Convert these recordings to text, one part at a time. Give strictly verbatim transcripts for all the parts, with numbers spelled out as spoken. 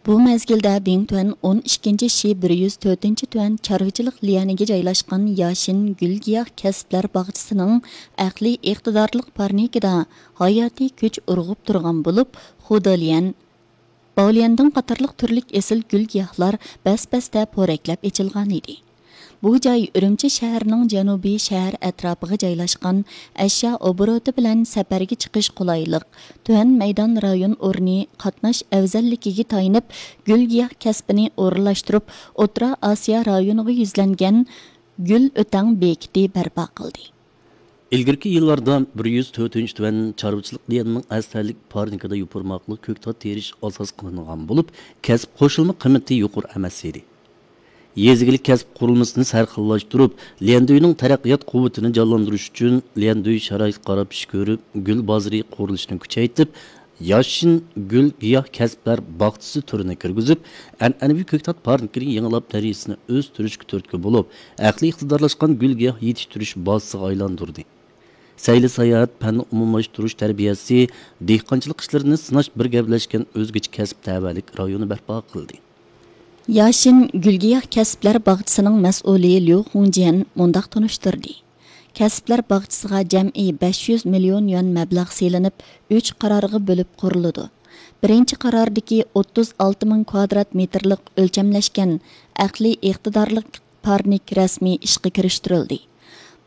بۇ مەزگىلدە بىڭتۈەن ئون ئىككىنچى شى بىر يۈز تۆتىنچى تۈەن چارۋىچىلىق ليەنىگە جايلاشقان ياشىن گۈل گىياھ كەسىپلەر باغچىسىنىڭ ئەقلىي ئىقتىدارلىق پارنىكىدا ھاياتىي كۈچ ئۇرغۇپ تۇرغان بولۇپ، خۇداليەن، باۋليەندىڭ قاتارلىق تۈرلۈك ئېسىل گۈل گىياھلار بەس-بەستە پورەكلەپ ئېچىلغانىدى. بۇ جاي ئۈرۈمچى شەھىرىنىڭ جەنۇبىي شەھەر ئەتراپىغا جايلاشقان، ئەشيا ئوبوروتى بىلەن سەپەرگە چىقىش قولايلىق، تۆۋەن مەيدان رايون ئورنى قاتناش ئەۋزەللىكىگە تايىنىپ، گۈل گىياھ كەسپىنى ئورۇنلاشتۇرۇپ، ئوتتۇرا ئاسىيا رايونىغا يۈزلەنگەن گۈل ئۆتەڭ بېكىتى بەرپا قىلدى. ئىلگىرىكى يىللاردا بىر يۈز تۆتىنچى تۈەن چارۋىچىلىق ليەننىڭ ئەستەرلىك پارنىكىدا يوپۇرماقلىق كۆكتات تېرىش ئاساس قىلىنغان بولۇپ، كەسىپ قوشۇلما قىممىتى يۇقىرى ئەمەس ئىدى. يېزا ئىگىلىك كەسىپ قۇرۇلمىسىنى سەرخىللاشتۇرۇپ، ليەندۈينىڭ تەرەققىيات قۇۋۋىتىنى جانلاندۇرۇش ئۈچۈن، ليەندۈي شارائىتقا قاراپ ئىش كۆرۈپ، گۈل بازىرى قۇرۇلۇشىنى كۈچەيتىپ، ياشىن گۈل گىياھ كەسىپلەر باغچىسى تۈرىنى كىرگۈزۈپ، ئەنئەنىۋى كۆكتات پارنىكىنى يېڭىلاپ، دەرىجىسىنى ئۆستۈرۈشكە تۈرتكە بولۇپ، ئەقلىي ئىقتىدارلاشقان گۈل گىياھ يېتىشتۈرۈش بازىسىغا ئايلاندۇردى. سەيلە ساياھەت، پەننى ئومۇملاشتۇرۇش تەربىيەسى، دېھقانچىلىق ئىشلىرىنى سىناش بىر گەۋدىلەشكەن ئۆزگىچە كەسىپ تەۋەلىك رايونى بەرپا قىلدى. ياشىن گۈل گىياھ كەسىپلەر باغچىسىنىڭ مەسئۇلى ليۇ خۇڭجيەن مۇنداق تونۇشتۇردى: كەسىپلەر باغچىسىغا جەمئىي بەش يۈز مىليون يۈەن مەبلەغ سېلىنىپ، ئۈچ قارارغا بۆلۈپ قۇرۇلىدۇ. بىرىنچى قارارىدىكى ئوتتۇز ئالتە مىڭ كۋادرات مېتىرلىق ئۆلچەملەشكەن ئەقلىي ئىقتىدارلىق پارنىك رەسمىي ئىشقا كىرىشتۈرۈلدى.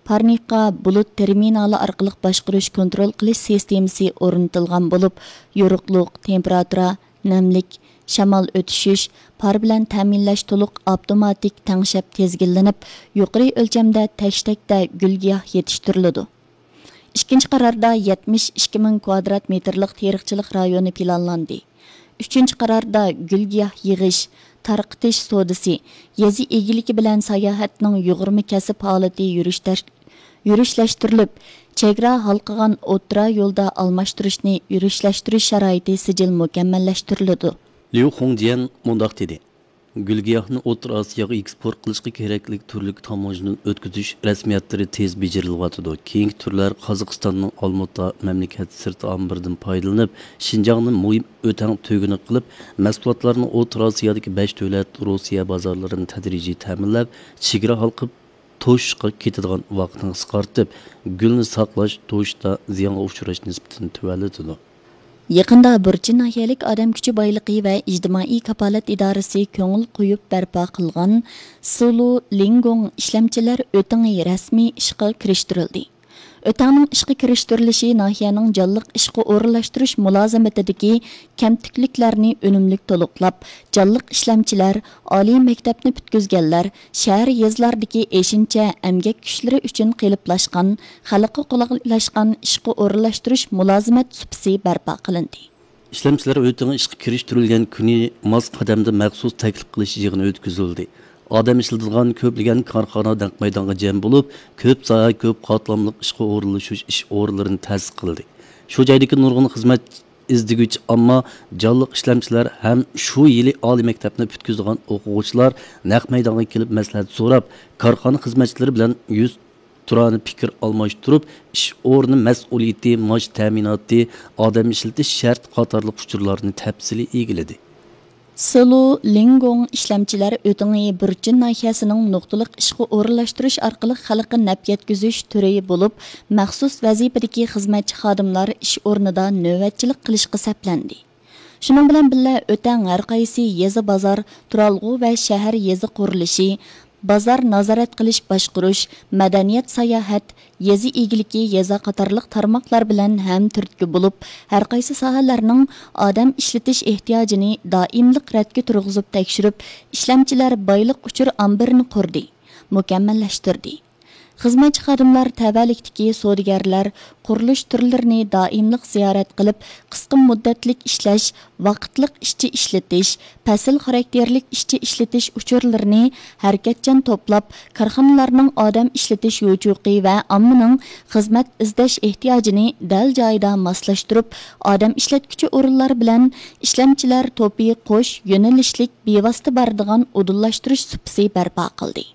پارنىكقا بۇلۇت تېرمىنالى ئارقىلىق باشقۇرۇش كونترول قىلىش سىستېمىسى ئورنىتىلغان بولۇپ، يورۇقلۇق، تېمپېراتۇرا، نەملىك، شامال ئۆتۈشۈش، پار بىلەن تەمىنلەش تولۇق ئاپتوماتىك تەڭشەپ تىزگىنلىنىپ، يۇقىرى ئۆلچەمدە تەشتەكتە گۈل گىياھ يېتىشتۈرۈلىدۇ. ئىككىنچى قاراردا يەتمىش ئىككى مىڭ كۋادرات مېتىرلىق تېرىقچىلىق رايونى پىلانلاندى. ئۈچىنچى قاراردا گۈل گىياھ يىغىش، تارقىتىش سودىسى، يېزا ئىگىلىكى بىلەن ساياھەتنىڭ يۇغۇرما كەسىپ ھالىتى يۈرۈشتەش-، يۈرۈشلەشتۈرۈلۈپ، چېگرا ھالقىغان ئوتتۇرا يولدا ئالماشتۇرۇشنى يۈرۈشلەشتۈرۈش شارائىتى سىجىل مۇكەممەللەشتۈرۈلىدۇ. ليۇ خۇڭجيەن مۇنداق دېدى: گۈل گىياھنى ئوتتۇرا ئاسىياغا ئېكسپورت قىلىشقا كېرەكلىك تۈرلۈك تاموژنا ئۆتكۈزۈش رەسمىيەتلىرى تېز بېجىرىلىۋاتىدۇ. كېيىنكى تۈرلەر قازاقىستاننىڭ ئالمۇتا مەملىكەت سىرتى ئامبىرىدىن پايدىلىنىپ، شىنجاڭنى مۇھىم ئۆتەڭ تۈگۈنى قىلىپ، مەھسۇلاتلارنى ئوتتۇرا ئاسىيادىكى بەش دۆلەت، روسىيە بازارلىرىنى تەدرىجىي تەمىنلەپ، چېگرا ھالقىپ توشۇشقا كېتىدىغان ۋاقىتنى قىسقارتىپ، گۈلنى ساقلاش، توشۇشتا زىيانغا ئۇچراش نىسبىتىنى تۆۋەنلىتىدۇ. يېقىندا بۇرچىن ناھىيەلىك ئادەم كۈچى بايلىقى ۋە ئىجتىمائىي كاپالەت ئىدارىسى كۆڭۈل قويۇپ بەرپا قىلغان سىلۇ لىڭگوڭ ئىشلەمچىلەر ئۆتىڭى رەسمىي ئىشقا كىرىشتۈرۈلدى. ئۆتەڭنىڭ ئىشقا كىرىشتۈرۈلۈشى ناھىيەنىڭ جانلىق ئىشقا ئورۇنلاشتۇرۇش مۇلازىمىتىدىكى كەمتۈكلۈكلەرنى ئۈنۈملۈك تولۇقلاپ، جانلىق ئىشلەمچىلەر، ئالىي مەكتەپنى پۈتكۈزگەنلەر، شەھەر، يېزىلاردىكى ئېشىنچە ئەمگەك كۈچلىرى ئۈچۈن قېلىپلاشقان، خەلققە قولايلاشقان ئىشقا ئورۇنلاشتۇرۇش مۇلازىمەت سۇپىسى بەرپا قىلىندى. ئىشلەمچىلەر ئۆتىڭى ئىشقا كىرىشتۈرۈلگەن كۈنى ماس قەدەمدە مەخسۇس تەكلىپ قىلىش يىغىنى ئۆتكۈزۈلدى. ئادەم ئىشلىتىدىغان كۆپلىگەن كارخانا نەق مەيدانغا جەم بولۇپ، كۆپ ساھە، كۆپ قاتلاملىق ئىشقا ئورۇنلىشىش ئىش ئورۇنلىرىنى تەسىس قىلدى. شۇ جايدىكى نۇرغۇن خىزمەت ئىزدىگۈچى ئامما، جانلىق ئىشلەمچىلەر ھەم شۇ يىلى ئالىي مەكتەپنى پۈتكۈزىدىغان ئوقۇغۇچىلار نەق مەيدانغا كېلىپ مەسلىھەت سوراپ، كارخانا خىزمەتچىلىرى بىلەن يۈز تۇرانە پىكىر ئالماشتۇرۇپ، ئىش ئورنى مەسئۇلىيىتى، مائاش تەمىناتى، ئادەم ئىشلىتىش شەرتى قاتارلىق ئۇچۇرلارنى تەپسىلىي ئىگىلىدى. سىلۇ لىڭگوڭ ئىشلەمچىلەر ئۆتىڭى بۇرچىن ناھىيەسىنىڭ نۇقتىلىق ئىشقا ئورۇنلاشتۇرۇش ئارقىلىق خەلققە نەپ يەتكۈزۈش تۈرى بولۇپ، مەخسۇس ۋەزىپىدىكى خىزمەتچى خادىملار ئىش ئورنىدا نۆۋەتچىلىك قىلىشقا سەپلەندى. شۇنىڭ بىلەن بىللە، ئۆتەڭ ھەر قايسى يېزا، بازار، تۇرالغۇ ۋە شەھەر، يېزا قۇرۇلۇشى، بازار نازارەت قىلىش، باشقۇرۇش، مەدەنىيەت، ساياھەت، يېزا ئىگىلىكى، يېزا قاتارلىق تارماقلار بىلەن ھەم تۈرتكە بولۇپ، ھەر قايسى ساھەلەرنىڭ ئادەم ئىشلىتىش ئېھتىياجىنى دائىملىق رەتكە تۇرغۇزۇپ تەكشۈرۈپ، ئىشلەمچىلەر بايلىق ئۇچۇر ئامبىرىنى قۇردى، مۇكەممەللەشتۈردى. خىزمەتچى خادىملار تەۋەلىكتىكى سودىگەرلەر، قۇرۇلۇش تۈرلىرىنى دائىملىق زىيارەت قىلىپ، قىسقا مۇددەتلىك ئىشلەش، ۋاقىتلىق ئىشچى ئىشلىتىش، پەسىل خاراكتېرلىك ئىشچى ئىشلىتىش ئۇچۇرلىرىنى ھەرىكەتچان توپلاپ، كارخانىلارنىڭ ئادەم ئىشلىتىش يوچۇقى ۋە ئاممىنىڭ خىزمەت ئىزدەش ئېھتىياجىنى دەل جايىدا ماسلاشتۇرۇپ، ئادەم ئىشلەتكۈچى ئورۇنلار بىلەن ئىشلەمچىلەر توپى قوش يۆنىلىشلىك بىۋاسىتە بارىدىغان ئۇدۇللاشتۇرۇش سۇپىسى بەرپا قىلدى.